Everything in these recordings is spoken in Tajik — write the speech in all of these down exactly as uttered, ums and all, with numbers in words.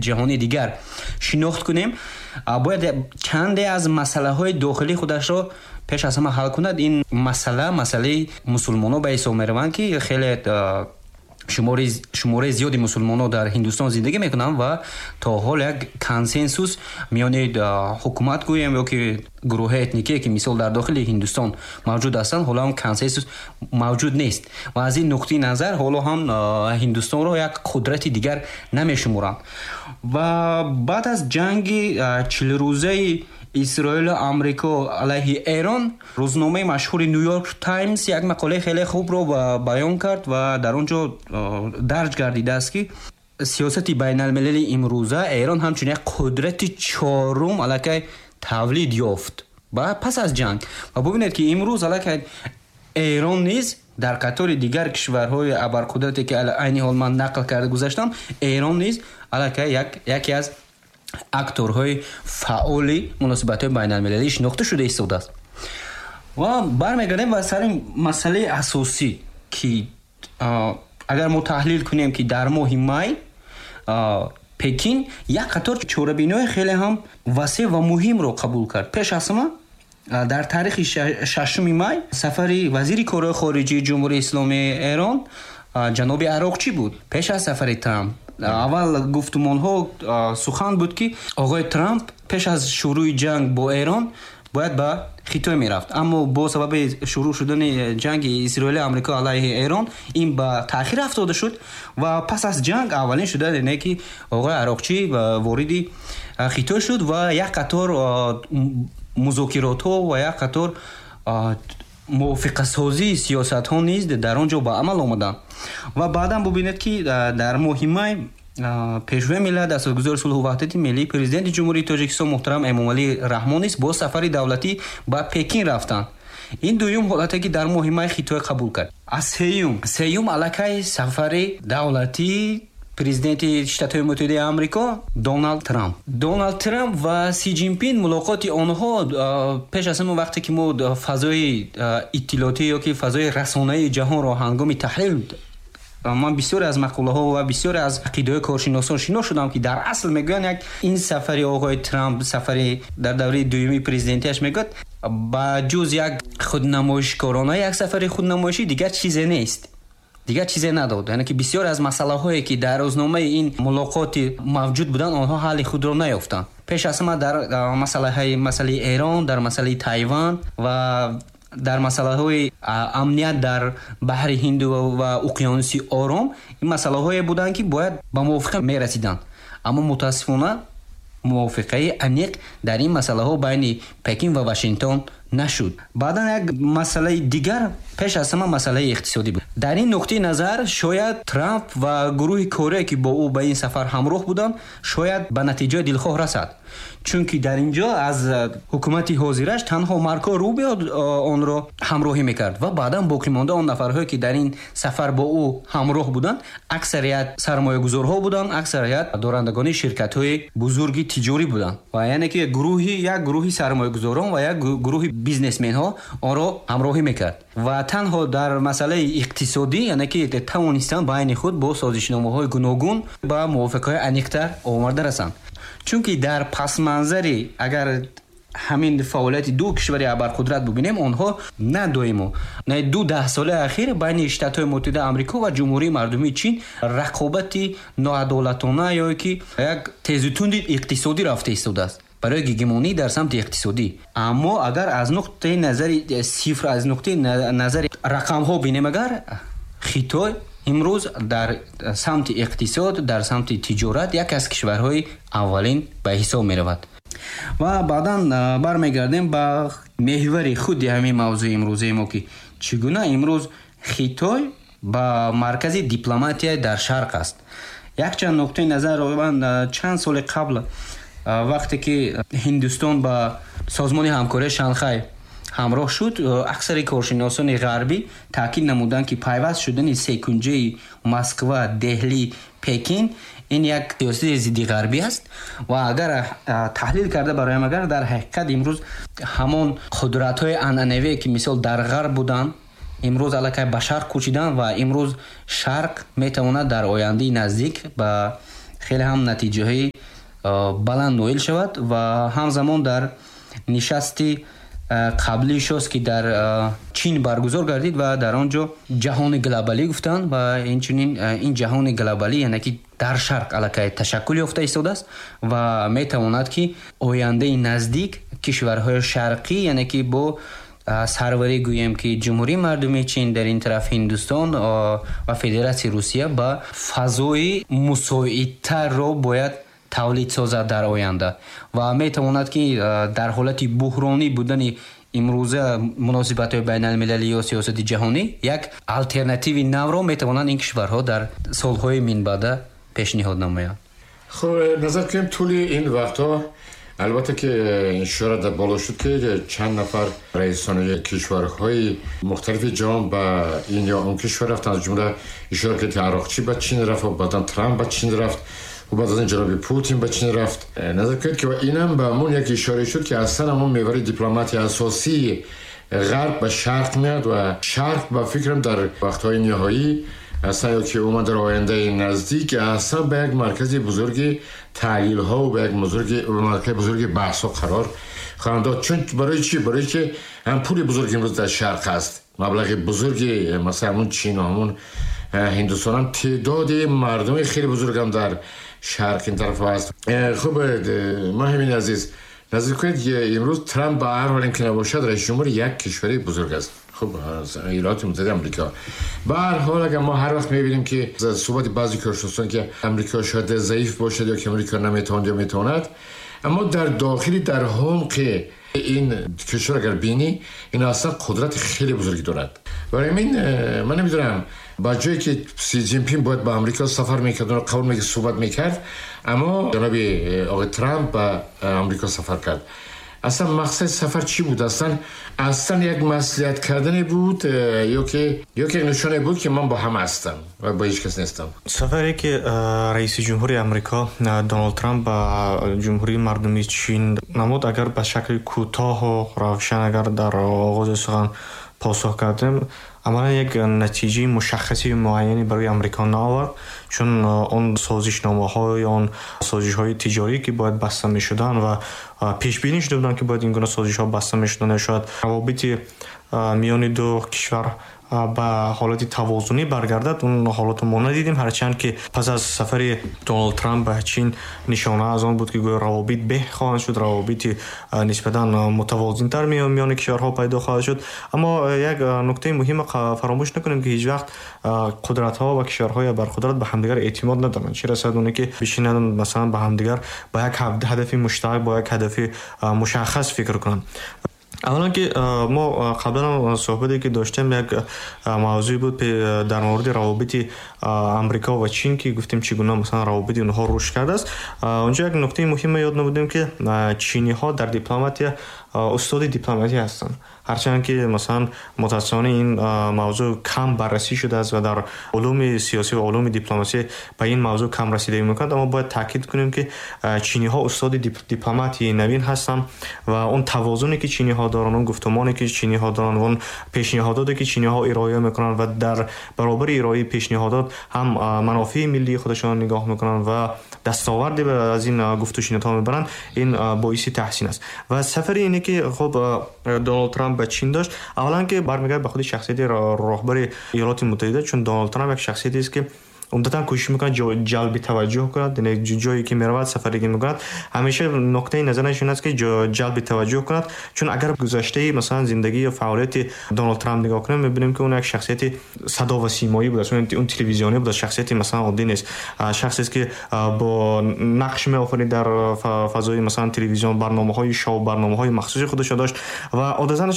ҷаҳони дигар шинохт кунем, бояд чанде аз масъалаҳои дохилии худашро пеш аз ҳама ҳал кунад. Ин масъала масъалаи мусулмонҳо ба ҳисоб мераванд, ки хеле шумораи зиёди мусулмонҳо дар Ҳиндустон зиндагӣ мекунанд ва то ҳол як консенсус миёни ҳукумат гӯем ё ки гурӯҳҳои этникие, ки мисол дар дохили Ҳиндустон мавҷуд ҳастанд, ҳоло ҳам консенсус мавҷуд нест ва аз ин нуқтаи назар ҳоло ҳам Ҳиндустонро як қудрати дигар намешуморанд. Ва баъд аз ҷанги чилрӯзаи Исроилу Амрико алайҳи Эрон, рӯзномаи машҳури Нью-Йорк Таймс як мақолаи хеле хубро баён кард ва дар он ҷо дарҷ гардидааст, ки сиёсати байналмилали имрӯза Эрон ҳамчун як қудрати чорум аллакай тавлид ёфт ва пас аз ҷанг. Ва бубинед, ки имрӯз аллакай Эрон низ дар қатори дигар кишварҳои абарқудрате, ки айни ҳол ман нақл карда гузаштам, Эрон низ аллакай яке аз акторҳои фаъоли муносибатҳои байналмилалӣ шинохта шуда истодааст. Ва бармегардем ба сари масъалаи асосӣ, ки агар мо таҳлил кунем, ки дар моҳи май Пекин як қатор чорабиниҳои хеле ҳам васеъ ва муҳимро қабул кард. Пеш аз ҳама дар таърихи шашуми май сафари вазири корҳои хориҷии Ҷумҳурии Исломии Эрон ҷаноби Ароқчӣ буд. Пеш аз сафари Трамп аввал гуфтумонҳо сухан буд, ки оғои Трамп пеш аз шурӯи ҷанг бо Эрон бояд ба Хитой мерафт, аммо бо сабаби шурӯъ шудани ҷанги Исроили Амрико алайҳи Эрон ин ба таъхир афтода шуд ва пас аз ҷанг аввалин шуда не ки оғои Ароқчӣ вориди Хитой шуд ва як қатор музокиротҳо ва як қатор мувофиқасозии сиёсатҳо низ дар он ҷо ба амал омаданд. Ва баъдан бубинед, ки дар моҳи май Пешвои миллат, асосгузори сулҳу ваҳдати миллӣ, Президенти Ҷумҳурии Тоҷикистон муҳтарам Эмомалӣ Раҳмон низ бо сафари давлатӣ ба Пекин рафтанд. Ин дуюм ҳолате, ки дар моҳи май Хитой қабул кард. Аз сеюм сеюм аллакай сафари давлатии президенти Штатҳои Муттаҳидаи Амрико Доналд Трамп. Доналд Трамп ва Си Ҷинпин, мулоқоти онҳо пеш аз ҳама вақте ки мо фазои иттилоотӣ ё ки фазои расонаи ҷаҳонро ҳангоми таҳлил, ман бисёре аз мақолаҳо ва бисёре аз ақидаҳои коршиносон шинос шудам, ки дар асл мегӯянд, як ин сафари оғои Трамп, сафари дар давраи дуюми президентиаш, мегӯяд, ба ҷуз як худнамоишкорона, як сафари худнамоишӣ дигар чизе нест, дигар чизе надод. Яъне ки бисёре аз масъалаҳое, ки дар рӯзномаи ин мулоқоти мавҷуд буданд, онҳо ҳалли худро наёфтанд. Пеш аз ҳама дар масъалаҳои масъалаи Эрон, дар масъалаи Тайван ва дар масъалаҳои амният дар баҳри Ҳинду ва уқёнуси Ором. Ин масъалаҳое буданд, ки бояд ба мувофиқа мерасиданд, аммо мутаассифона мувофиқаи аниқ дар ин масъалаҳо байни Пекин ва Вашингтон нашуд. Баъдан як масъалаи дигар, пеш аз ҳама масъалаи иқтисодӣ буд. Дар ин нуқтаи назар шояд Трамп ва гурӯҳи корие, ки бо ӯ ба ин сафар ҳамроҳ буданд, шояд ба натиҷаи дилхоҳ расад, чунки дар ин ҷо аз ҳукумати ҳозираш танҳо Марко Рубио онро ҳамроҳӣ мекард ва баъдан боқимонда он нафарҳое, ки дар ин сафар бо ӯ ҳамроҳ буданд, аксарият сармоягузорҳо буданд, аксарият дорандагони ширкатҳои бузурги тиҷорӣ буданд. Ва яъне ки гурӯҳи як гурӯҳи сармоягузорон ва як гурӯҳи бизнесменҳо онро ҳамроҳӣ мекард ва танҳо дар масъалаи иқтисодӣ, яъне ки тавонистанд байни худ бо созишномаҳои гуногун ба мувофиқаҳои аниқтар оварда расанд. Чунки дар пасманзари агар ҳамин фаъолияти ду кишвари абарқудрат бубинем, онҳо на доимо, на ду даҳсолаи ахир байни Штатҳои Муттаҳидаи Амрико ва Ҷумҳурии Мардумии Чин рақобати ноадолатона ё ки як тезутунди иқтисодӣ рафта истодааст барои гегемонӣ дар самти иқтисодӣ. Аммо агар аз нуқтаи назари сифр, аз нуқтаи назари рақамҳо бинем, агар Хитой имрӯз дар самти иқтисод, дар самти тиҷорат як аз кишварҳои аввалин ба ҳисоб меравад. Ва баъдан бармегардем ба меҳвари худи ҳамин мавзӯи имрӯзаи мо, ки чӣ гуна имрӯз Хитой ба маркази дипломатия дар шарқ аст. Якчанд нуқтаи назарро ман чанд соли қабл, вақте ки Ҳиндустон ба Созмони ҳамкории Шанхай ҳамроҳ шуд, аксари коршиносони ғарбӣ таъкид намуданд, ки пайваст шудани секунҷаи Москва, Деҳлӣ, Пекин ин як сиёсати зидди ғарбӣ аст. Ва агар таҳлил карда бароям, агар дар ҳақиқат имрӯз ҳамон қудратҳои анъанавие, ки мисол дар ғарб буданд, имрӯз аллакай ба шарқ кӯчиданд ва имрӯз шарқ метавонад дар ояндаи наздик ба хеле ҳам натиҷаҳои баланд ноил шавад ва ҳамзамон дар нишасти қаблӣ шост, ки дар Чин баргузор гардид ва дар он ҷо ҷаҳони глобалӣ гуфтанд ва инчунин ин ҷаҳони глобалӣ, яъне ки дар шарқ аллакай ташаккул ёфта истодааст ва метавонад, ки ояндаи наздик кишварҳои шарқӣ, яъне ки бо сарварӣ гӯем, ки Ҷумҳурии Мардумии Чин, дар ин тараф Ҳиндустон ва Федератсияи Русия ба фазои мусоидтарро бояд тавлид созад дар оянда ва метавонад, ки дар ҳолати буҳронӣ будани имрӯза муносибатҳои байналмилалӣ ё сиёсати ҷаҳонӣ як алтернативи навро метавонанд ин кишварҳо дар солҳои минбаъда пешниҳод намоянд. Хуб, назар кунем тӯли ин вақтҳо, албатта ки ишора дар боло шуд, ки чанд нафар раисони кишварҳои мухталифи ҷаҳон ба ин ё он кишвар рафтанд. Аз ҷумла ишора кард, ки Арақчӣ ба Чин рафт ва баъдан Трамп ба Чин рафт ва баъд аз ин ҷаноби Путин ба Чин рафт. Назар кунед, ки инам ба ҳамон як ишора шуд, ки аслан ҳамон мевари дипломатии асосии ғарб ба шарқ меяд ва шарқ ба фикрам дар вақтҳои ниҳоӣ аслан ё ки умуман дар ояндаи наздик аслан ба як маркази бузурги таҳлилҳо ва ба як маркази бузурги баҳсҳо қарор хоҳанд дод. Чун барои чӣ? Барои ки ҳам пули бузург имрӯз дар шарқ аст, маблағи бузурги масалан ҳамон Чин ва ҳамон Ҳиндустон, ҳам теъдоди мардуми хеле бузург ҳам дар шарқ ин тараф аст. Хуб, Маҳимин азиз, назар кунед, имрӯз Трамп ба ҳар ҳол ки набошад раиси ҷумҳури як кишвари бузург аст. Хуб, Иёлоти Муттаҳидаи Амрико. Ба ҳар ҳол агар мо ҳар вақт мебинем, ки суҳбати баъзе коршиносон, ки Амрико шояд заиф бошад ё ки Амрико наметавонад ё метавонад, аммо дар дохили дар ҳумқи ин кишвар агар бинӣ, ин аслан қудрати хеле бузурге дорад. Барои ҳамин ман намедонам, ба ҷое ки Си Ҷинпин бояд ба Амрико сафар мекард, онро қабул мекард, суҳбат мекард, аммо ҷаноби оқои Трамп ба Амрико сафар кард. Аслан мақсади сафар чӣ буд? Аслан аслан як маслиҳат кардане буд ё ки ё ки нишоне буд, ки ман бо ҳама ҳастам ва бо ҳеҷ кас нестам? Сафаре ки раиси ҷумҳури Амрико Доналд Трамп ба Ҷумҳурии Мардумии Чин намуд, агар ба шакли кӯтоҳу равшан агар дар оғози сухан посух кардем, амалан як натиҷаи мушаххаси муайяне барои Амрико наовард, чун он созишномаҳо ё он созишҳои тиҷорӣ, ки бояд баста мешуданд ва пешбинӣ шуда буданд, ки бояд ин гуна созишҳо баста мешуданд, шояд равобити миёни ду кишвар ба ҳолати тавозунӣ баргардад, он ҳолатро мо надидем. Ҳарчанд ки пас аз сафари Доналд Трамп ба Чин нишона аз он буд, ки гӯё равобит беҳ хоҳанд шуд, равобити нисбатан мутавозинтар миёни кишварҳо пайдо хоҳад шуд. Аммо як нуктаи муҳима фаромӯш накунем, ки ҳеҷ вақт қудратҳо ва кишварҳои барқудрат ба ҳамдигар эътимод надоранд. Чӣ расад оне ки бишинанд масалан ба ҳамдигар ба як ҳадафи муштарак, бо як ҳадафи мушаххас фикр кунанд. Аввалан ки мо қаблан суҳбате ки доштем, як мавзӯе буд дар мавриди равобити Амрико ва Чин, ки гуфтем чӣ гуна масалан равобити онҳо рушд кардааст. Онҷо як нуктаи муҳиме ёд намудем, ки чиниҳо дар дипломатия устоди дипломатия ҳастанд. Ҳарчанд ки масалан мутаассифона ин мавзӯъ кам баррасӣ шудааст ва дар улуми сиёсӣ ва улуми дипломасӣ ба ин мавзӯъ кам расидагӣ мекунанд, аммо бояд таъкид кунем, ки чиниҳо устоди дипломатияи навин ҳастанд ва он тавозуне ки чиниҳо доранд, он гуфтумоне ки чиниҳо доранд, он пешниҳодоте ки чиниҳо ироа мекунанд ва дар баробари ироаи пешниҳодот ҳам манофеи миллии худашон нигоҳ мекунанд ва дастоварде аз ин гуфтушунидҳо мебаранд, ин боиси таҳсин аст. Ва сафари ине ки хуб Доналд Трамп ба Чин дошт, аввалан ки бармегардад ба худи шахсияти роҳбари Иёлоти Муттаҳида, чун Доналд Трамп як шахсиятест, ки умдатан кӯшиш мекунад ҷалби таваҷҷӯҳ кунад, яъне ҷое ки меравад, сафаре ки мекунад, ҳамеша нуктаи назараш ин аст, ки ҷалби таваҷҷӯҳ кунад. Чун агар гузаштаи масалан зиндагӣ ё фаъолияти Доналд Трамп нигоҳ кунем, мебинем, ки он як шахсияти садо ва симоӣ будааст, он телевизионӣ будааст, шахсияти масалан оддӣ нест, шахсест, ки бо нақш меофарид дар фазои масалан телевизион, барномаҳои шоу, барномаҳои махсуси худашро дошт ва одатан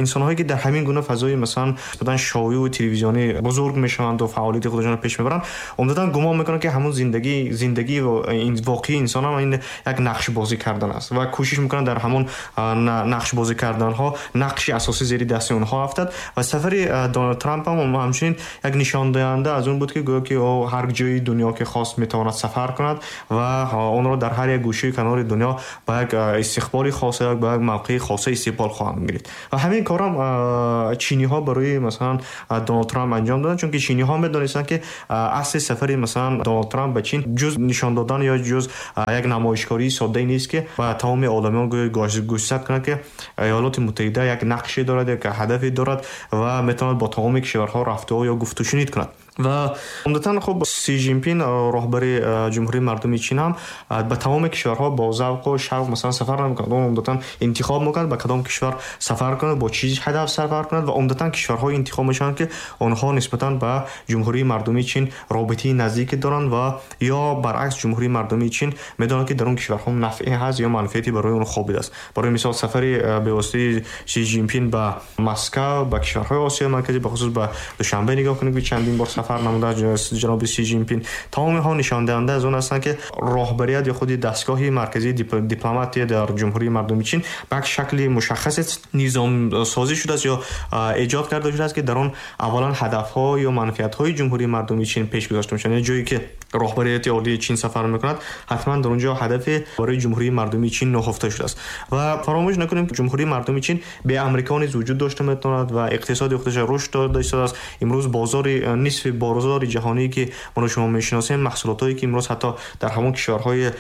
инсонҳое ки дар ҳамин гуна фазои масалан шоуӣ ва телевизионӣ бузург мешаванд ва фаъолияти худашонро пеш мебаранд, умдатан гумон мекунанд, ки ҳамон зиндагӣ зиндагии воқеии инсон ҳам ин як нақшбозӣ кардан аст ва кӯшиш мекунанд дар ҳамон нақшбозӣ карданҳо нақши асосӣ зери дасти онҳо афтад. Ва сафари Доналд Трамп ҳам ҳамчунин як нишондиҳанда аз он буд, ки гӯё ки ӯ ҳар ҷои дунё ки хост метавонад сафар кунад ва онро дар ҳар як гӯшаи канори дунё ба як истиқболи хоса, ба як мавқеи хоса истиқбол хоҳанд гирифт. Ва ҳамин корам чиниҳо барои масалан Доналд Трамп анҷом доданд, чунки чиниҳо медонистанд, ки Асли сафари масалан Доналд Трамп ба Чин ҷуз нишон додан ё ҷуз як намоишкории соддае нест, ки ба тамоми одамиён гӯшзад кунад, ки Иёлоти Муттаҳида як нақше дорад, як ҳадафе дорад ва метавонад бо тамоми кишварҳо рафтуо ё гуфтушунид кунад. Ва умдатан хуб Си Ҷинпин, роҳбари Ҷумҳурии Мардумии Чин, ҳам ба тамоми кишварҳо бо завқу шавқ масалан сафар намекунад. Ӯ умдатан интихоб мекунад ба кадом кишвар сафар кунад, бо чӣ ҳадаф сафар кунад ва умдатан кишварҳое интихоб мешаванд, ки онҳо нисбатан ба Ҷумҳурии Мардумии Чин робитаи наздике доранд ва ё баръакс Ҷумҳурии Мардумии Чин медонад, ки дар он кишварҳо нафъе ҳаст ё манфиате барои он хобидааст. Барои мисол сафари бевоситаи Си Ҷинпин ба Москва, ба кишварҳои Осиёи Марказӣ, бахусус ба Душанбе нигоҳ кунед, ки чандин бор сафар намуда ҷаноби Си Ҷинпин, тамоми онҳо нишондиҳанда аз он ҳастанд, ки роҳбарият ё худи дастгоҳи марказии дипломатия дар Ҷумҳурии Мардумии Чин ба як шакли мушаххасе низомсозӣ шудааст ё эҷод карда шудааст, ки дар он аввалан ҳадафҳо ё манфиатҳои Ҷумҳурии Мардумии Чин пеш гузошта мешаванд. Яъне ҷое ки роҳбарияти олии Чин сафар мекунад, ҳатман дар он ҷо ҳадафе барои Ҷумҳурии Мардумии Чин нуҳуфта шудааст. Ва фаромӯш накунем, ки Ҷумҳурии Мардумии Чин бе Амрико низ вуҷуд дошта метавонад ва иқтисоди худаш рушд дода истодааст. Имрӯз бозори нисфи бозори ҷаҳоние, ки мо шумо мешиносем, маҳсулотҳое ки имрӯз ҳатто дар ҳамон кишварҳои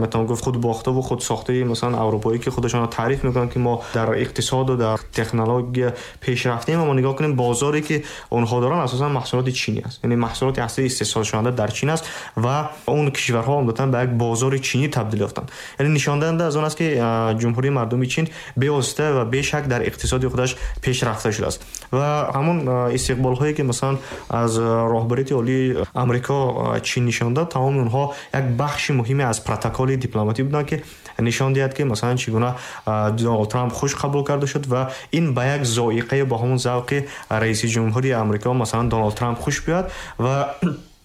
метавон гуфт худбохта ва худсохтаи масалан аврупоӣ, ки худашонро таъриф мекунанд, ки мо дар иқтисод ва дар технология пеш рафтем, аммо нигоҳ кунем бозоре ки онҳо доранд асосан маҳсулоти чинӣ аст. Яъне маҳсулоти аслӣ истеҳсолшаванда дар Чин аст ва он кишварҳо умдатан ба як бозори чинӣ табдил ёфтанд. Яъне нишондиҳанда аз он аст, ки Ҷумҳурии Мардумии Чин бевосита ва бешак дар иқтисоди худаш пеш рафта шудааст. Ва ҳамон истиқболҳое ки масалан аз роҳбарияти олии Амрико Чин нишон дод, тамоми онҳо як бахши муҳиме аз протоколи дипломатӣ буданд, ки нишон диҳад, ки масалан чӣ гуна Доналд Трамп хуш қабул карда шуд ва ин ба як зоиқае бо ҳамон завқи раиси ҷумҳури Амрико масалан Доналд Трамп хуш биёяд. Ва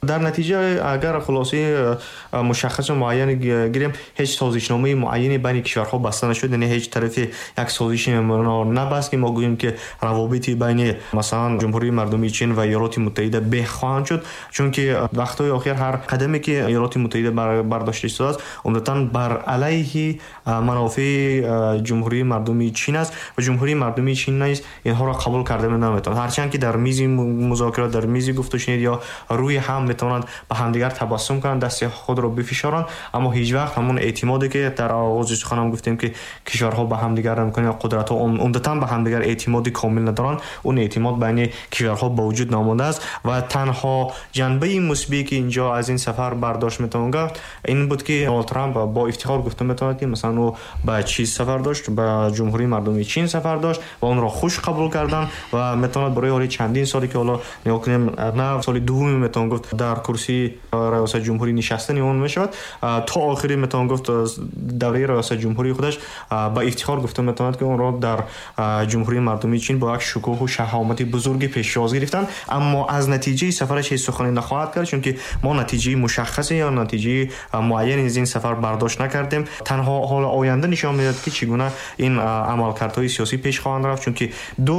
дар натиҷа агар хулосаи мушаххас ва муайяне гирем, ҳеҷ созишномаи муайяне байни кишварҳо баста нашуд. Яъне ҳеҷ тарафе як созиши набаст, ки мо гӯем, ки равобити байни масалан Ҷумҳурии Мардумии Чин ва Иёлоти Муттаҳида беҳ хоҳанд шуд, чунки вақтҳои охир ҳар қадаме ки Иёлоти Муттаҳида бардошта истодааст, умдатан бар алайҳи манофеи Ҷумҳурии Мардумии Чин аст ва Ҷумҳурии Мардумии Чин низ инҳоро қабул карда наметавонад. Ҳарчанд ки дар мизи музокирот, дар мизи гуфтушунид ё рӯи ҳам метавонанд ба ҳамдигар табассум кунанд, дасти худро бифишоранд, аммо ҳеҷ вақт ҳамон эътимоде ки дар оғози суханам гуфтем, ки кишварҳо ба ҳамдигар намекунанд ё қудратҳо умдатан ба ҳамдигар эътимоди комил надоранд, он эътимод байни кишварҳо ба вуҷуд наомадааст. Ва танҳо ҷанбаи мусбие ки инҷо аз ин сафар бардошт метавон гуфт, ин буд, ки Доналд Трамп бо ифтихор гуфта метавонад, ки масалан ӯ ба чиз сафар дошт, ба Ҷумҳурии Мардумии Чин сафар дошт ва онро хуш қабул карданд ва метавонад барои ҳоли чандин соле ки ҳоло нигоҳ кунем, на соли дуввуме метавон гуфт дар курсии раёсати ҷумҳурӣ нишастани он мешавад, то охири метавон гуфт давраи раёсати ҷумҳурии худаш ба ифтихор гуфта метавонад, ки онро дар Ҷумҳурии Мардумии Чин бо як шукӯҳу шаҳомати бузурге пешвоз гирифтанд. Аммо аз натиҷаи сафараш ҳеҷ сухане нахоҳад кард, чунки мо натиҷаи мушаххасе ё натиҷаи муайяне аз ин сафар бардошт накардем. Танҳо ҳоло оянда нишон медиҳад, ки чӣ гуна ин амалкардҳои сиёсӣ пеш хоҳанд рафт, чунки ду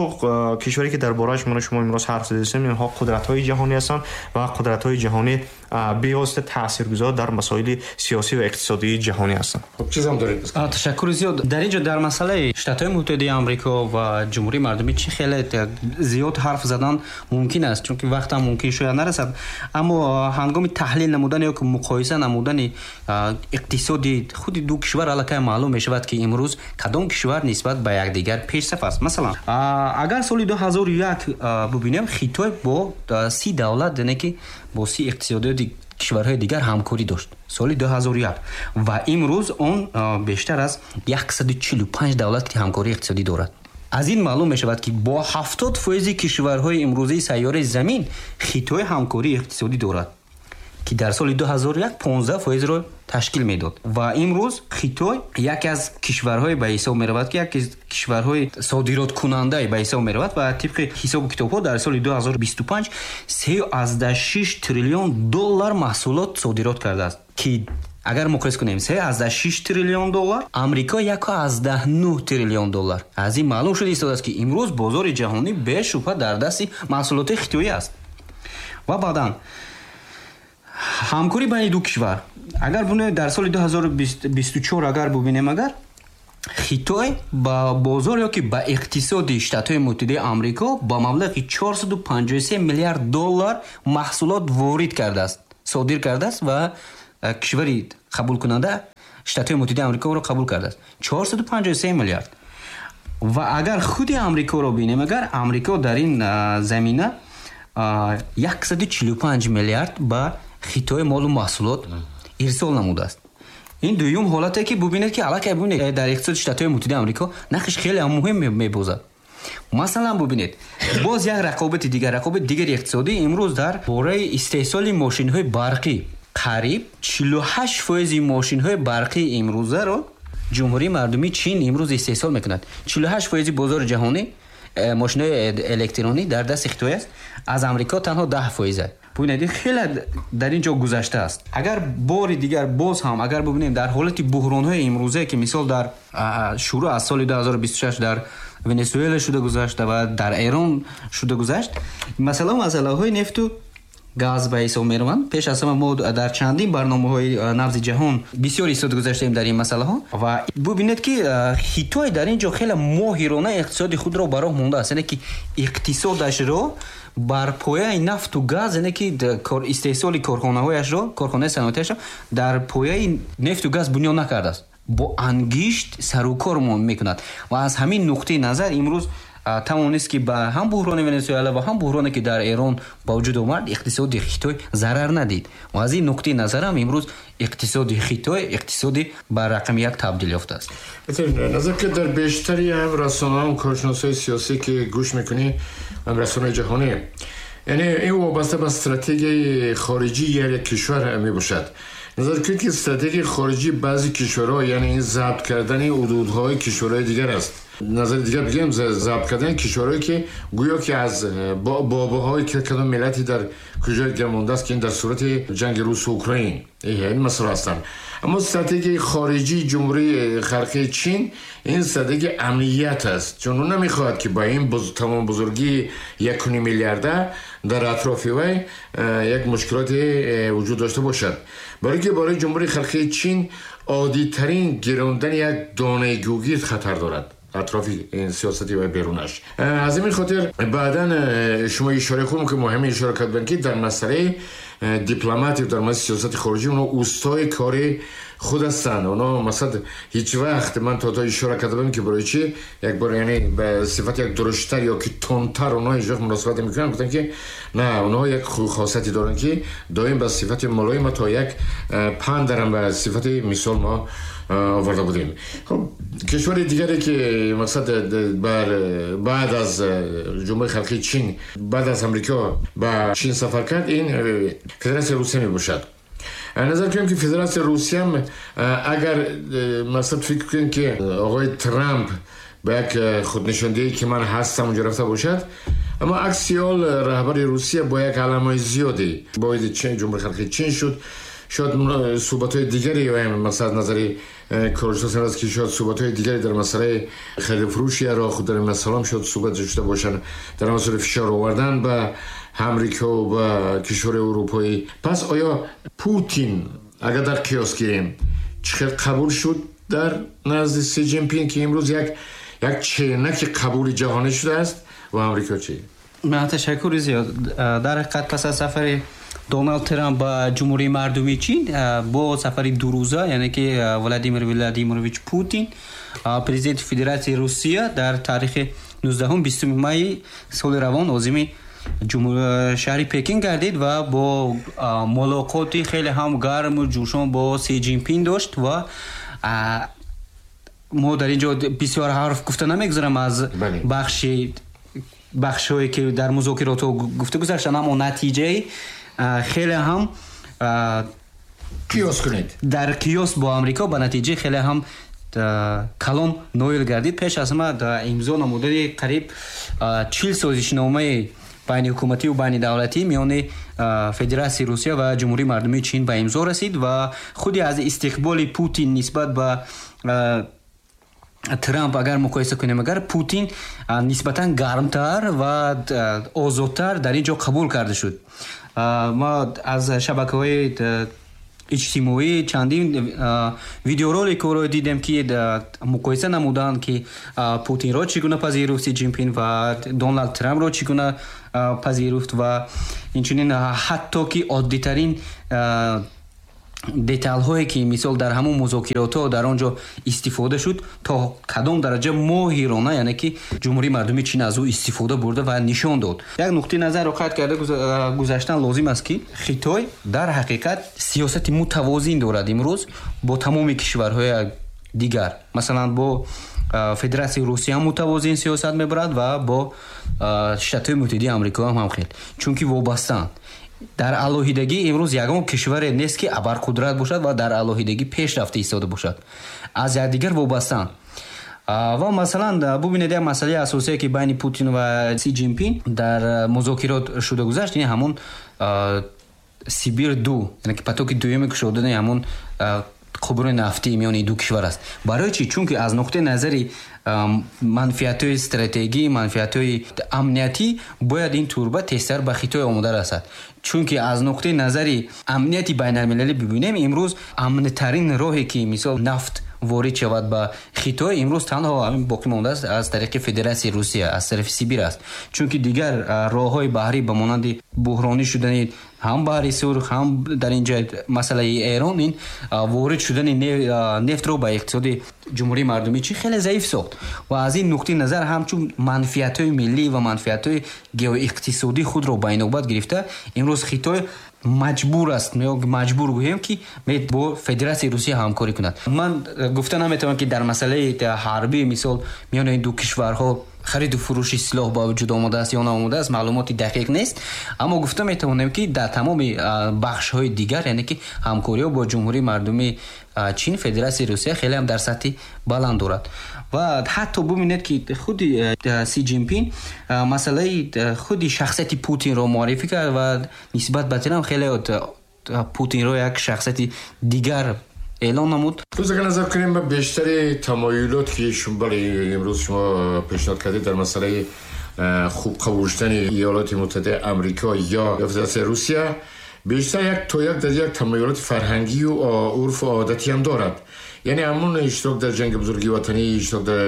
кишваре ки дар борааш мо шумо имрӯз ҳарф задем, инҳо қудратҳои ҷаҳонӣ ҳастанд ва қудратҳои ҷаҳонӣ бевосита таъсиргузор дар масоили сиёсӣ ва иқтисодии ҷаҳонӣ ҳастанд. Хуб, чизам доред? Ташаккури зиёд. Дар ин ҷо дар масъалаи Штатҳои Муттаҳидаи Амрико ва Ҷумҳурии Мардумии Чин хеле зиёд ҳарф задан мумкин аст, чунки вақтам мумкин шояд нарасад. Аммо ҳангоми таҳлил намудан ё муқоиса намудани иқтисоди худи ду кишвар аллакай маълум мешавад, ки имрӯз кадом кишвар нисбат ба якдигар пешсаф аст. Масалан, агар соли ду ҳазору як бубинем, Хитой бо си давлат, яъне ки бо си иқтисодиёти кишварҳои дигар ҳамкорӣ дошт соли ду ҳазору як ва имрӯз он бештар аз яксаду чилу панҷ давлат ҳамкории иқтисодӣ дорад. Аз ин маълум мешавад, ки бо ҳафтод фоизи кишварҳои имрӯзии сайёраи замин Хитой ҳамкории иқтисодӣ дорад, ки дар соли ду ҳазору як понздаҳ фоизро ташкил медод. Ва имрӯз Хитой яке аз кишварҳое ба ҳисоб меравад, ки яке аз кишварҳои содироткунандае ба ҳисоб меравад ва тибқи ҳисобу китобҳо дар соли ду ҳазору бисту панҷ се аз даҳ шиш триллион доллар маҳсулот содирот кардааст, ки агар муқоиса кунем се аз даҳ шиш триллион доллар, Амрико як аз даҳ нӯҳ триллион доллар. Аз ин маълум шуда истодааст, ки имрӯз бозори ҷаҳонӣ бешубҳа дар дасти маҳсулоти хитоӣ аст. Ва баъдан ҳамкорӣ байни ду кишвар агар бубинем дар соли ду ҳазору бисту чор агар бубинем, агар Хитой ба бозор ё ки ба иқтисоди Штатҳои Муттаҳидаи Амрико ба маблағи чорсаду панҷоҳу се миллиард доллар маҳсулот ворид кардааст, содир кардааст ва кишвари қабулкунанда Штатҳои Муттаҳидаи Амрикоро қабул кардааст. чорсаду панҷоҳу се миллиард. Ва агар худи Амрикоро бинем, агар Амрико дар ин замина яксаду чилу панҷ миллиард ба Хитой молу маҳсулот ирсол намудааст. Ин дуюм ҳолате ки бубинед ки аллакай бубинед дар иқтисоди Штатҳои Муттаҳидаи Амрико нақш хеле ҳам муҳим мебозад. Масалан бубинед, боз як рақобати дигар, рақобати дигари иқтисодӣ имрӯз дар бораи истеҳсоли мошинҳои барқӣ. Қариб чилу ҳашт фоизи мошинҳои барқӣ имрӯзаро Ҷумҳурии Мардумии Чин имрӯз истеҳсол мекунад. чилу ҳашт фоизи бозори ҷаҳонӣ мошинҳои электронӣ дар дасти Хитой аст, аз Амрико танҳо даҳ фоиз аст. Бубинед, ин хеле дар ин ҷо гузаштааст. Агар бори дигар боз ҳам агар бубинем дар ҳолати буҳронҳои имрӯза ки мисол дар шурӯъ аз соли ду ҳазору бисту шаш дар Венесуэла шуда гузашт ва дар Эрон шуда гузашт, масъала масъалаҳои нефту газ ба ҳисоб мераванд. Пеш аз ҳама мо дар чандин барномаҳои набзи ҷаҳон бисёр истода гузаштаем дар ин масъалаҳо ва бубинед ки Хитой дар ин ҷо хеле моҳирона иқтисоди худро ба роҳ мондааст, яъне ки иқтисодашро бар пояи нафту газ, яъне ки истеҳсоли корхонаҳояшро, корхонаи саноатиашро дар пояи нефту газ бунёд накардааст, бо ангишт сарукор мекунад ва аз ҳамин нуқтаи назар имрӯз тавонист ки ба ҳам буҳрони Венесуэла ва ҳам буҳроне ки дар Эрон ба вуҷуд омад иқтисоди Хитой зарар надид ва аз ин нуқтаи назар ҳам имрӯз иқтисоди Хитой иқтисоди ба рақами як табдил ёфтааст. Назар ки дар бештари ҳам расонаҳо, коршиносҳои сиёсӣ ки гӯш мекунӣ, ҳам расонаҳои ҷаҳонӣ, яъне ин вобаста ба стратегияи хориҷии як кишвар мебошад. Назар кунед ки стратегияи хориҷии баъзе кишварҳо, яъне ин забт кардани ҳудудҳои кишварҳои дигар аст. Назари дигар бигӯем, забт кардани кишварҳое ки гӯё ки аз бобоҳои кадом миллате дар куҷои дигар мондааст, ки ин дар сурати ҷанги рус ва украин ин масъала ҳастанд. Аммо стратегияи хориҷии Ҷумҳурии Халқии Чин ин стратегияи амният аст, чун ӯ намехоҳад ки ба ин тамом бузургии як ним миллиарда дар атрофи вай як мушкилоте вуҷуд дошта бошад. Барои ки барои Ҷумҳурии Халқии Чин оддитарин гирондани як донаи гӯгирд хатар дорад атрофи сиёсати ва берунаш. Аз ҳамин хотир баъдан шумо ишора хуб ки муҳим ишора карданд ки дар масъалаи дипломатия, дар масъалаи сиёсати хориҷӣ онҳо устои кори худ ҳастанд. Онҳо масалан ҳеҷ вақт ман то то ишора карда будам ки барои чӣ як бор яъне ба сифати як дуруштар ё ки тунтар онҳо ҳеҷ вақт муносибат намекунанд. Гуфтанд ки на, онҳо як хосияте доранд ки доим ба сифати мулоим то як панд дарам ба сифати мисол мо оварда будем. Хуб, кишвари дигаре ки мақсад бар баъд аз Ҷумҳурии Халқии Чин, баъд аз Амрико ба Чин сафар кард, ин Федератсияи Русия мебошад. Назар кунем ки Федератсияи Русия ҳам агар масалан фикр кунем ки оғои Трамп ба як худнишондиҳӣ ки ман ҳастам онҷо рафта бошад, аммо акси ҳол раҳбари Русия бо як аламаи зиёде боиди Ҷумҳурии Халқии Чин шуд. Шояд суҳбатҳои дигаре масалан аз назари коршиносон аст ки шояд суҳбатҳои дигаре дар масъалаи хариду фурӯши Ироқ дар ин масъала ҳам шояд суҳбат шуда бошанд, дар масъалаи фишор овардан ба Амрико ва ба кишварҳои аврупоӣ. Пас оё Путин агар дар қиёс гирем чӣ хел қабул шуд дар назди Си Ҷинпин ки имрӯз як як ченаки қабули ҷаҳонӣ шудааст ва Амрико чӣ? Ман ташаккури зиёд. Дар ҳақиқат пас аз сафари Доналд Трамп ба Ҷумҳурии Мардумии Чин бо сафари дурӯза, яъне ки Владимир Владимирович Путин, президенти Федератсияи Русия дар таърихи нуздаҳум бистуми майи соли равон озими шаҳри Пекин гардид ва бо мулоқоти хеле ҳам гарму ҷӯшон бо Си Ҷинпин дошт ва мо дар ин ҷо бисёр ҳарф гуфта намегузарам аз бахши бахшҳое ки дар музокиротҳо гуфта гузаштанд, аммо натиҷаи хеле ҳам қиёс кунед дар қиёс бо Амрико ба натиҷаи хеле ҳам калон ноил гардид. Пеш аз ҳама имзо намудани қариб чил созишномаи байниҳукуматӣ ва байнидавлатӣ миёни Федератсияи Русия ва Ҷумҳурии Мардумии Чин ба имзо расид ва худи аз истиқболи Путин нисбат ба Трамп агар муқоиса кунем, агар Путин нисбатан гармтар ва озодтар дар ин ҷо қабул карда шуд. Ма аз шабакаҳои иҷтимоӣ чандин видеороликҳоро дидем, ки муқоиса намуданд, ки Путинро чӣ гуна пазируфт Си Ҷинпин ва Доналд Трампро чӣ гуна пазируфт ва инчунин ҳатто ки оддитарин деталҳое, ки мисол дар ҳамон музокиротҳо дар он ҷо истифода шуд, то кадом дараҷа моҳирона, яъне ки Ҷумҳурии Мардумии Чин аз ӯ истифода бурда ва нишон дод. Як нуқтаи назарро қайд карда гузаштан лозим аст, ки Хитой дар ҳақиқат сиёсати мутавозин дорад имрӯз бо тамоми кишварҳои дигар. Масалан, бо Федератсияи Русия мутавозин сиёсат мебарад ва бо Штатҳои Муттаҳидаи Амрико ҳам ҳамхел, чунки вобастаанд. Дар алоҳидагӣ имрӯз ягон кишваре нест, ки абарқудрат бошад ва дар алоҳидагӣ пеш рафта истода бошад. Аз якдигар вобастаанд. Ва масалан, бубинед, як масъалаи асосие, ки байни Путин ва Си Ҷинпин дар музокирот шуда гузашт, ин ҳамон Сибир ду, яъне ки потоки дуюми кушодани ҳамон қубури нафтии миёни ду кишвар аст. Барои чӣ? Чунки аз нуқтаи назари манфиатҳои стратегӣ, манфиатҳои амниятӣ бояд ин турба тезтар ба Хитой омода расад. Чунки аз нуқтаи назари амнияти байналмилалӣ бибинем, имрӯз амнтарин роҳе, ки мисол нафт ворид шавад ба Хитой, имрӯз танҳо ҳамин боқӣ мондааст аз тариқи Федератсияи Русия, аз тарафи Сибир аст. Чунки дигар роҳҳои баҳрӣ ба монанди буҳронӣ шудани ҳам баҳри Сурх, ҳам дар ин ҷо масъалаи Эрон, ин ворид шудани нефтро ба иқтисоди Ҷумҳурии Мардумии Чин хеле заиф сохт. Ва аз ин нуқтаи назар ҳамчун манфиатҳои миллӣ ва манфиатҳои геоиқтисодии худро ба инобат гирифта, имрӯз Хитой маҷбур аст, маҷбур гӯем, ки бо Федератсияи Русия ҳамкорӣ кунад. Ман гуфта наметавонам, ки дар масъалаи ҳарбӣ мисол миёни ин ду кишварҳо хариду фурӯши силоҳ ба вуҷуд омадааст ё наомадааст, маълумоти дақиқ нест, аммо гуфта метавонем, ки дар тамоми бахшҳои дигар, яъне ки ҳамкориҳо бо Ҷумҳурии Мардумии Чин, Федератсияи Русия хеле ҳам дар сатҳи баланд дорад. Ва ҳатто бубинед, ки худи Си Ҷинпин масъалаи худи шахсияти Путинро муаррифӣ кард ва нисбат ба Трамп хеле Путинро як шахсияти дигар эълон намуд. Боз агар назар кунем ба бештари тамоюлот, ки бале имрӯз шумо пешниҳод кардед дар масъалаи хуб қабул шудани Иёлоти Муттаҳидаи Амрико ё Федератсияи Русия, бештар як то як дар як тамоюлоти фарҳангию урфу одатӣ ҳам дорад. Яъне ҳамон иштирок дар ҷанги бузурги ватанӣ, иштирок дар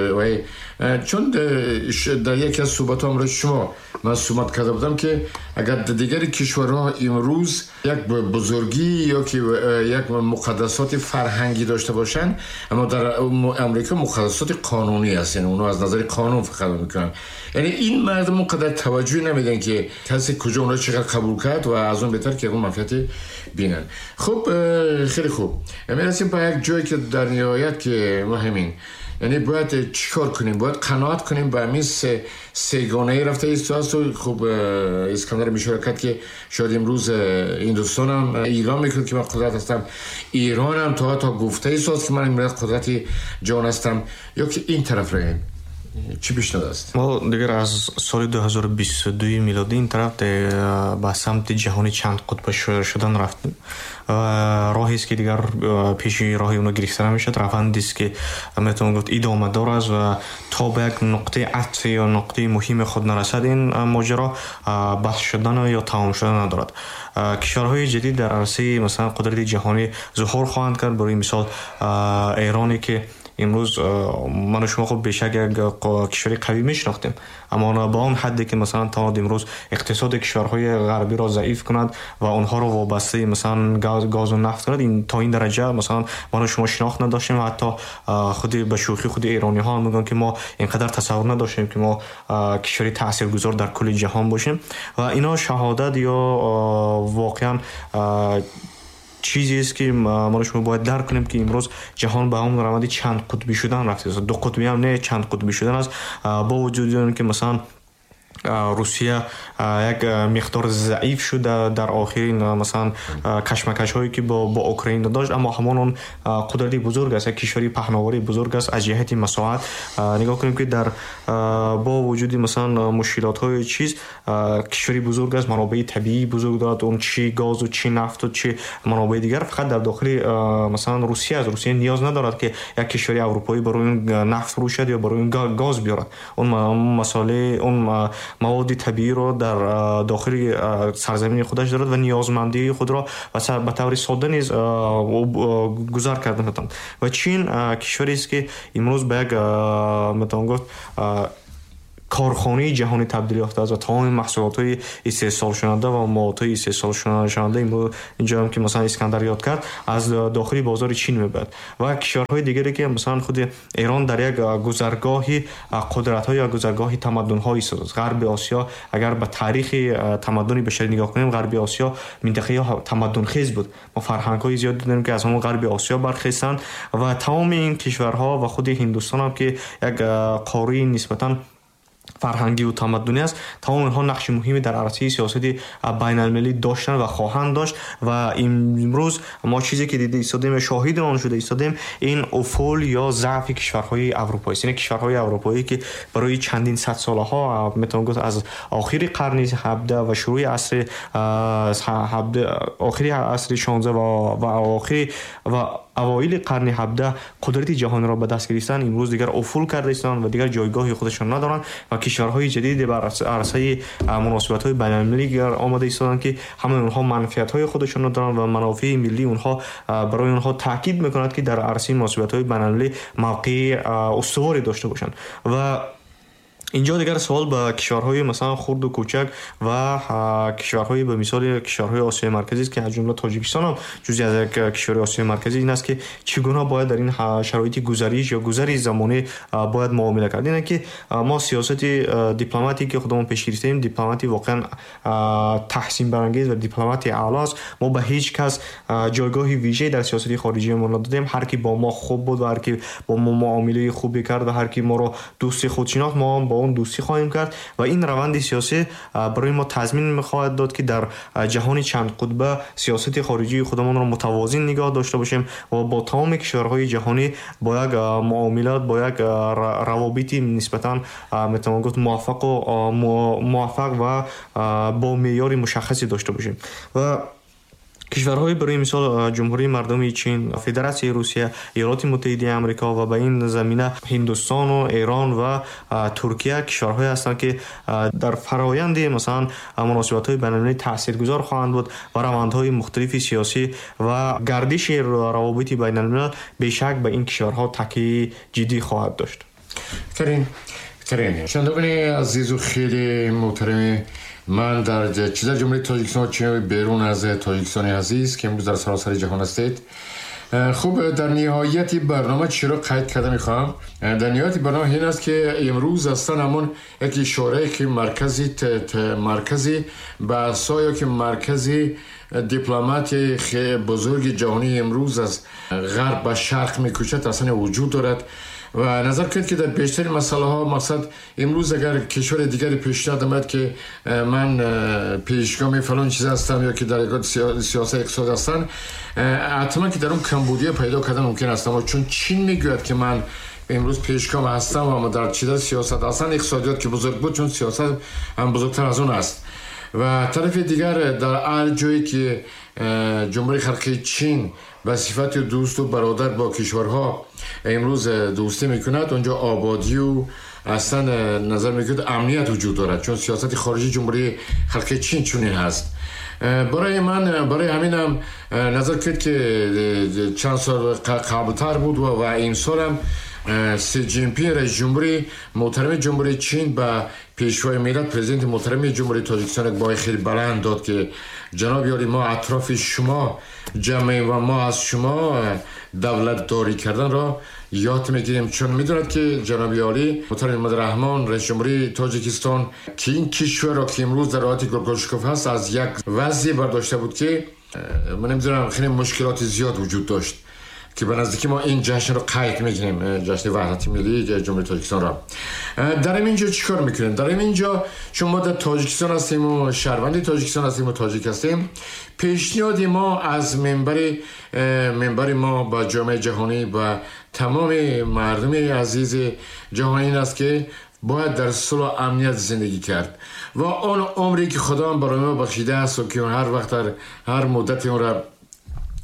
чун дар яке аз суҳбатҳо ҳамроҳи шумо ман суҳбат карда будам, ки агар дар дигари кишварҳо имрӯз як бузургӣ ё ки як муқаддасоти фарҳангӣ дошта бошанд, аммо дар Амрико муқаддасоти қонунӣ аст, яъне онҳо аз назари қонун фақат мекунанд. Яъне ин мардум он қадар таваҷҷӯҳ намедиҳанд, ки касе куҷо онро чӣ қадар қабул кард ва аз он беҳтар ки ягон манфиате бинанд. Хуб, хеле хуб, мерасем ба як ҷое, ки дар ниҳоят ки муҳимин, яъне бояд чӣ кор кунем? Бояд қаноат кунем ба ҳамин сегонаи рафта истодааст. Хуб, Искандар ишора кард, ки шояд имрӯз Ҳиндустон ҳам эълон мекунад, ки ман қудрат ҳастам, Эрон ҳам то то гуфта истодааст, ки ман имрӯз қудрати ҷаҳон ҳастам, ё ки ин тараф равем. Чӣ пешниҳод аст? Мо дигар аз соли ду ҳазору бисту дуи милодӣ ин тараф ба самти ҷаҳони чанд қутба шудан рафтем. Роҳест, ки дигар пеши роҳи онро гирифта намешавад, равандест, ки метавон гуфт идомадор аст ва то ба як нуқтаи атфи ё нуқтаи муҳими худ нарасад, ин моҷаро баҳс шудан ё тамом шудан надорад. Кишварҳои ҷадид дар арсаи масалан қудрати ҷаҳонӣ зуҳур хоҳанд кард. Барои мисол, Эроне, ки имрӯз ману шумо хуб бешак як кишвари қавӣ мешинохтем, аммо ба он ҳадде, ки масалан тавонад имрӯз иқтисоди кишварҳои ғарбиро заиф кунад ва онҳоро вобастаи масалан газу нафт кунад, ин то ин дараҷа масалан ману шумо шинохт надоштем. Ва ҳатто худи ба шӯхӣ худи эрониҳо ҳам мегӯянд, ки мо инқадар тасаввур надоштем, ки мо кишвари таъсиргузор дар кулли ҷаҳон бошем. Ва ино шаҳодат ё воқеан чизест, ки мо шумо бояд дарк кунем, ки имрӯз ҷаҳон ба ҳамон раванди чанд қутбӣ шудан рафтааст. Ду қутбӣ ҳам не, чанд қутбӣ шудан аст. Бо вуҷуди он ки масалан Русия як миқдор заиф шуд дар охирин масалан кашмакашҳое, ки бо бо Украина дошт, аммо ҳамон он қудрати бузург аст, як кишвари паҳновари бузург аст аз ҷиҳати масоҳат. Нигоҳ кунем, ки дар бо вуҷуди масалан мушкилотҳои чиз кишвари бузург аст, манобеи табиии бузург дорад, он чи газу чи нафту чи манобеи дигар фақат дар дохили масалан Русия аст. Русия ниёз надорад, ки як кишвари аврупоӣ барои он нафт фурӯшад ё барои он газ биёрад. Он масъалаи он маводи табииро дар дохили сарзамини худаш дорад ва ниёзмандии худро ба таври сода низ гузар карда метавонад. Ва Чин кишварест, ки имрӯз ба як, метавон гуфт, корхонаи ҷаҳонӣ табдил ёфтааст ва тамоми маҳсулотҳои истеҳсолшаванда ва маводҳои истеҳсолшаванда имрӯз инҷоам, ки масалан Искандар ёд кард, аз дохили бозори Чин мебояд. Ва кишварҳои дигаре, ки масалан худи Эрон дар як гузаргоҳи қудратҳо ё гузаргоҳи тамаддунҳо истодааст. Ғарби Осиё, агар ба таърихи тамаддуни башарӣ нигоҳ кунем, Ғарби Осиё минтақаи тамаддунхез буд. Мо фарҳангҳои зиёд дидем, ки аз ҳамон Ғарби Осиё бархестанд ва тамоми ин кишварҳо ва худи Ҳиндустон ҳам, ки як қораи нисбатан фарҳангӣ ва тамаддунӣ аст, тамоми инҳо нақши муҳиме дар арсаи сиёсати байналмилалӣ доштанд ва хоҳанд дошт. Ва имрӯз мо чизе ки дида истодем ё шоҳиди он шуда истодем, ин уфул ё заъфи кишварҳои аврупоӣ аст. Яъне кишварҳои аврупоӣ, ки барои чандин сад солаҳо, метавон гуфт, аз охири қарни ҳабдаҳ ва шурӯи асри охири асри шонздаҳ ва охири ва авоили қарни ҳабдаҳ қудрати ҷаҳонро ба даст гирифтанд, имрӯз дигар уфул карда истоданд ва дигар ҷойгоҳи худашон надоранд ва кишварҳои ҷадиде бар арсаи муносибатҳои байналмилалӣ омада истоданд, ки ҳамаи онҳо манфиатҳои худашонро доранд ва манофеи миллии онҳо барои онҳо таъкид мекунад, ки дар арсаи муносибатҳои байналмилалӣ мавқеи устуворе дошта бошанд. Ва инҷо дигар савол ба кишварҳои масалан хурду кӯчак ва кишварҳои ба мисоли кишварҳои Осиёи Марказӣ аст, ки аз ҷумла Тоҷикистон ҳам ҷузъи аз як кишвари Осиёи Марказӣ, ин аст, ки чӣ гуна бояд дар ин шароити гузариш ё гузари замонӣ бояд муомила кард. Ин ки мо сиёсати дипломатӣ, ки худамон пеш гирифтаем, дипломатӣ воқеан таҳсинбарангез ва дипломатии аъло аст. Мо ба ҳеҷ кас ҷойгоҳи вижае дар сиёсати хориҷиямон надодем. Ҳар ки бо мо хуб буд ва ҳар ки бо мо муомилаи хубе кард ва ҳар ки моро дӯсти худ шинохт, мо ҳам бо он дӯстӣ хоҳем кард. Ва ин раванди сиёсӣ барои мо тазмин мехоҳад дод, ки дар ҷаҳони чандқутба сиёсати хориҷии худамонро мутавозин нигоҳ дошта бошем ва бо тамоми кишварҳои ҷаҳонӣ бо як муомилат, бо як равобити нисбатан, метавон гуфт, муваффақу муваффақ ва бо меъёри мушаххасе дошта бошем. Ва кишварҳои барои мисол Ҷумҳурии Мардумии Чин, Федератсияи Русия, Иёлоти Муттаҳидаи Амрико ва ба ин замина Ҳиндустону Эрон ва Туркия кишварҳое ҳастанд, ки дар фароянди масалан муносибатҳои байналмилалӣ таъсиргузор хоҳанд буд ва равандҳои мухталифи сиёсӣ ва гардиши равобити байналмилал бешак ба ин кишварҳо такияи ҷиддӣ хоҳад дошт. Беҳтарин, беҳтарин. Шунавандагони азизу хеле муҳтарами ман, дар чӣ дар Ҷумҳурии Тоҷикистон, чӣ берун аз Тоҷикистони азиз, ки имрӯз дар саросари ҷаҳон ҳастед, хуб, дар ниҳояти барнома чиро қайд карда мехоҳам? Дар ниҳояти барнома ин аст, ки имрӯз ҳастан ҳамон як ишорае, ки маркази маркази баҳсҳо ё ки маркази дипломатияи бузурги ҷаҳонии имрӯз аз ғарб ба шарқ мекӯчад, аслан вуҷуд дорад. Ва назар кунед, ки дар бештари масъалаҳо, мақсад, имрӯз агар кишвари дигаре пешниҳод намояд, ки ман пешгоми фалон чиз ҳастам ё ки дар сиёсати иқтисод ҳастанд, ҳатман ки дар он камбудия пайдо кардан мумкин аст. Аммо чун Чин мегӯяд, ки ман имрӯз пешгом ҳастам ва дар чида сиёсат ҳастанд, иқтисодиёт ки бузург буд, чун сиёсат ҳам бузургтар аз он аст. Ва тарафи дигар, дар ҳар ҷое ки Ҷумҳурии Халқии Чин ба сифати дӯсту бародар бо кишварҳо имрӯз дӯстӣ мекунад, онҷо ободию аслан назар мекунад, амният вуҷуд дорад, чун сиёсати хориҷии Ҷумҳурии Халқии Чин чунин ҳаст. Барои ман, барои ҳаминам назар кунед, ки чанд сол қаблтар буд ва имсолам Си Ҷинпин, раиси ҷумҳури муҳтарами Ҷумҳурии Чин, ба пешвои миллат, президенти муҳтарами Ҷумҳурии Тоҷикистон як бои хеле баланд дод, ки ҷаноби олӣ, мо атрофи шумо ҷамъем ва мо аз шумо давлатдорӣ карданро ёд мегирем, чун медонад, ки ҷаноби олӣ муҳтарам Эмомалӣ Раҳмон, раиси ҷумҳурии Тоҷикистон, ки ин кишварро, ки имрӯз дар ҳолати гулгулшукуф ҳаст, аз як вазъе бардошта буд, ки ман намедонам, хеле мушкилоти зиёд вуҷуд дошт, ки ба наздикӣ мо ин ҷашнро қайд мекунем, ҷашни ваҳдати миллии Ҷумҳурии Тоҷикистонро. Дар ин ҷо чӣ кор мекунем? Дар ин ҷо, чун мо дар Тоҷикистон ҳастем ва шаҳрванди Тоҷикистон ҳастем ва тоҷик ҳастем, пешниҳоди мо аз минбари минбари мо ба ҷомеаи ҷаҳонӣ, ба тамоми мардуми азизи ҷаҳон ин аст, ки бояд дар сулҳу амният зиндагӣ кард ва он умре, ки Худованд барои мо бахшидааст ва ки ҳар вақт, дар ҳар муддати онро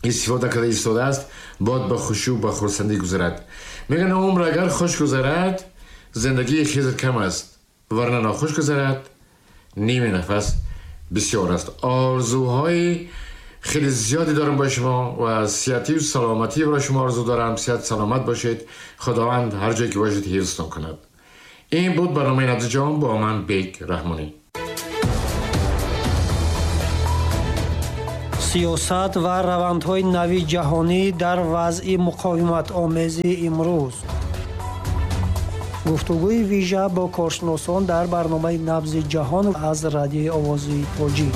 истифода карда истодааст, бояд ба хушӣ ба хурсандӣ гузарад. Мегӯянд, умр агар хуш гузарад, зиндагии Хизр кам аст, варна нохуш гузарад. ними нафас бисёр аст. Орзуҳои хеле зиёде дорам бо шумо ва сиҳатӣ ва саломатӣ барои шумо орзу дорам. Сиҳат саломат бошед. Худованд ҳар ҷое ки бошед ҳифзтон кунад. Ин буд барномаи Набзи ҷаҳон бо ман Бек Раҳмонӣ. Сиёсат ва равандҳои нави ҷаҳонӣ дар вазъи муқовиматомези имрӯз. Гуфтугӯи вижа бо коршиносон дар барномаи Набзи ҷаҳон аз радиои Овози Тоҷик.